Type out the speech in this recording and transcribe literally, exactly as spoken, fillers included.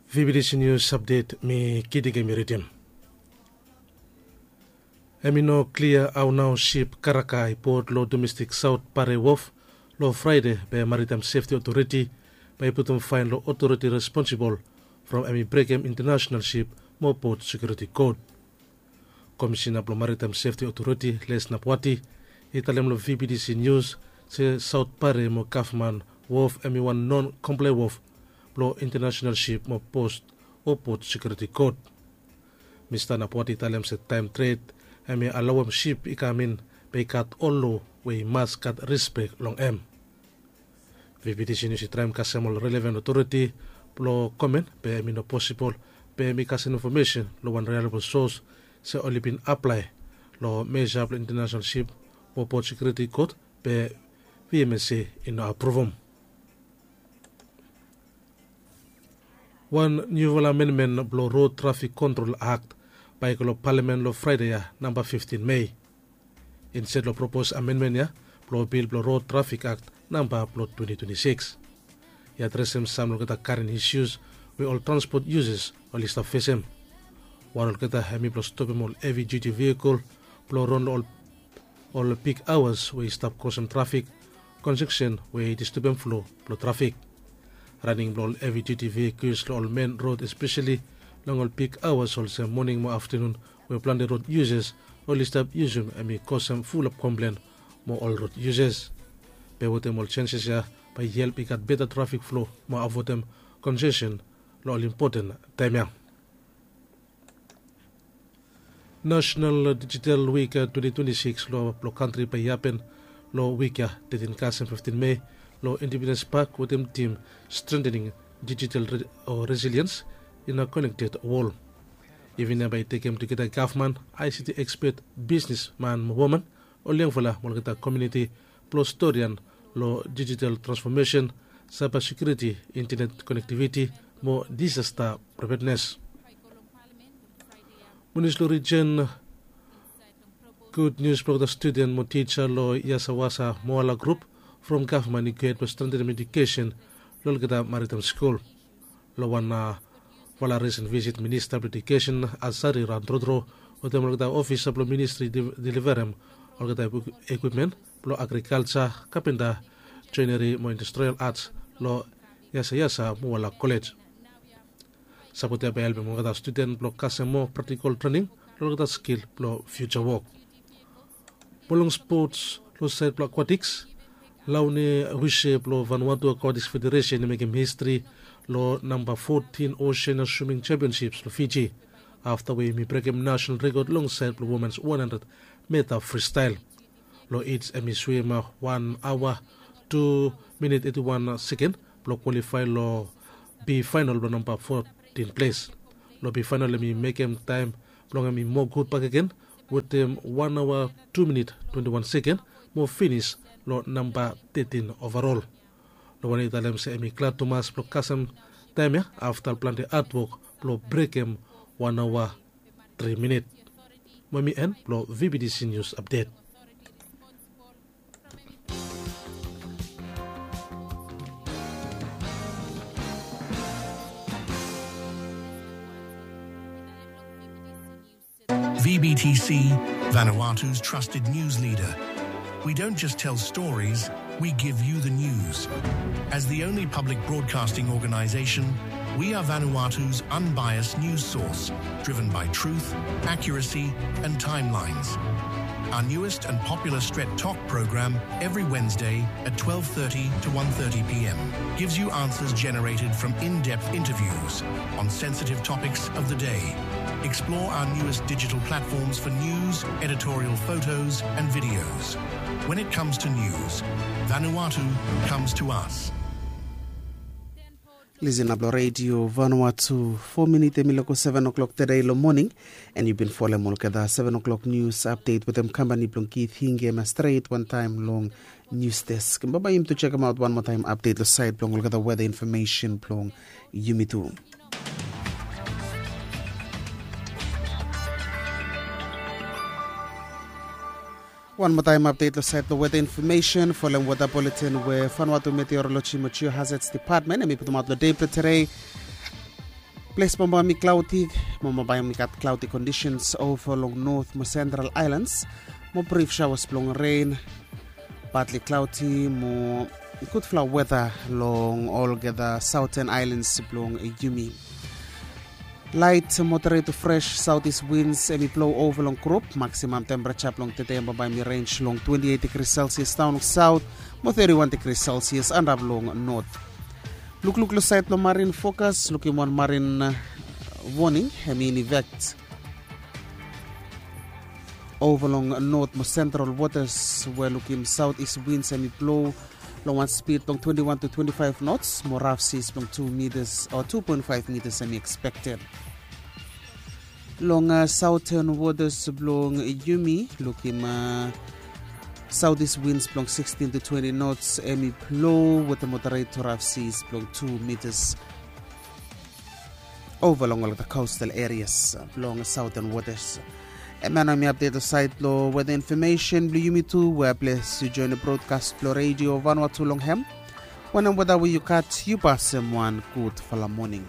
V B T C News Update, mi Kidik em i ridim. Em i no klia hao nao sip karaka i pot long domestik Saot Pare Wof long Fraede, be Maritime Sefti Otoriti bae i putum faen long otoriti responsibol from em i brekem intanasenal sip mo pot sekiuriti kod. Komisina blong Maritime Sefti Otoriti, Les Napwati, i talem long V B T C Nius se Saot Pare mo Gavman Wof em i wan non komplae wof blong intanasenal sip mo pot o pot sekiuriti kod. Mista Napwati i talem se taem tred em i alaoem sip i kam in, be i gat ol loa we i mas gat rispek long em. V B T C Nius i traem kasem ol relevan otoriti blong komen, be em i no posibol, be em i kasem infomesen long wan rilaebol sos se oli bin aplae long mesa blong intanasenal sip mo pot sekiuriti kod, be V M S C i no apruvum. Wan niufala amenmen blong Rod Trafik Kontrol Akt bae i go long Palamen long Fraede ya, namba fiftin Mei. Insted long propos amenmen ya blong bil blong Rod Trafik Akt namba blong twenti twenti sikis, i adresem sam long olgeta karen isius we ol transpot yusas oli stap fesem. Wan olgeta hem i blong stopem ol hevi duti vehikel blong ron long ol ol big aoas we i stap kosem trafik konjeksen we i distebem flo blong trafik. Raning blong ol hevi duti vehikels long ol men rod, espeseli long ol big aoas olsem moning mo aftanun, we plante rod yusas oli stap yusum, hem i kosem fulap komplen mo ol rod yusas. Be wetem ol jenjes ya bae i help i gat beta trafik flo mo avoedem konjeksen long ol impoten taem ya. Nasenal Dijital Wik twenti twenti sikis lo blong kantri bae i hapen lo wik ya, tetin kasem fiftin Mei, lo Independens Pak wetem tim Strengthening Digital Re- o Resilience in a Connected World. Iven ya bae i tekem tugeta gavman, I C T ekspet, bisnesman mo woman, ol yangfala mo olgeta komuniti blong storian lo dijital transfomesen, saeba sekiuriti, intenet konektiviti mo disasta prepednes. Munisipal Rijen Gud Nius blong olgeta studen mo tija lo Yasawasa Moala grup from gavman i gohed blong strengtenem edukesen lo olgeta maritaem skul. Lo wan a vala risen visit, Minista blong Edukesen Asari Randrodro wetem olgeta ofisa blong ministri i deliverem olgeta ekwipmen blong agrikalja, kapenta, joeneri mo industrial ats lo Yasayasa Moala Kolej. Sapot ya bae i helpem olgeta studen blong kasem moa praktikol trening long olgeta skil blong fiuja wok. Mo long spots long saed blong akwatiks, Laune Wise blong Vanuatu Akwatiks Federesen i mekem histri long namba fotin Osean Swiming Championships long Fiji, afta we hem i brekem nasenal rekod long saed blong womens wan handred meta fristael. Long its hem i swim wan aoa, tu minit, eti wan seken blong kwalifae long B faenol blong namba fotin ples. Long B faenol hem i mekem taem blong hem i moa gud bakegen wetem wan aoa, tu minit, twenti wan seken mo finis long namba tetin ovarol. Long wanem i talem se hem i glad tumas blong kasem taem ya afta plante hadwok blong brekem wan aoa, tri minit. Mo hem i en blong V B T C Nius Apdet. V B T C, Vanuatu's trusted news leader. We don't just tell stories, we give you the news. As the only public broadcasting organization, we are Vanuatu's unbiased news source, driven by truth, accuracy, and timelines. Our newest and popular Stret Tok program every Wednesday at twelve thirty to one thirty p.m. gives you answers generated from in-depth interviews on sensitive topics of the day. Explore our newest digital platforms for news, editorial photos, and videos. When it comes to news, Vanuatu comes to us. Lisin ap long redio Vanuatu. Fo minit hem i loko seven o'clock tede long moning, and yu bin folem olgeta seven o'clock news update wetem kampani blong Keith Hinge Mastret wantaem long news desk. Bambae yumi tu jekemaot wan moa taem update long saed blong olgeta weather information blong yumi tu. Wan moa taem update long saed blong weather information. Folem weather bulletin we Vanuatu Meteorology mo Geohazards Department hem i putumaot long dei blong tede. Ples bambae mi klauti, mo bambae mi gat klauti kondisens ova long not mo sentral ailans, mo brif saoas blong ren, patli klauti mo gudfala weta long olgeta saoten ailans blong yumi. Lait moderet to fres saotis wins em i blo ova long grup, maksimam tempereja blong tede em bambae mi renj long twenti eit digri selsias daon long saot, mo teti wan digri selsias antap long not. Lukluk long sait blong marin fokas, lukim wan marin woning em i in efekt ova long not mo sentral wotas, we lukim saot is wins em i blo long wan spid blong twenti wan to twenti faef nots, mo raf sis blong tu mitas o tu poen faef mitas em i ekspekted. Long saoten wotas blong yumi, lukim saotis wins blong sikstin to twenti nots em i blo wetem moderet to raf sis blong tu mitas ova long olgeta kostal erias blong saoten wotas. Em ya nao mi apdet long sait long weta infomesen blong yumi tu, we ples yu joen long brodkas blong redio vanua tu long hem. Wanem weta we yu gat, yu pasem wan gudfala moning.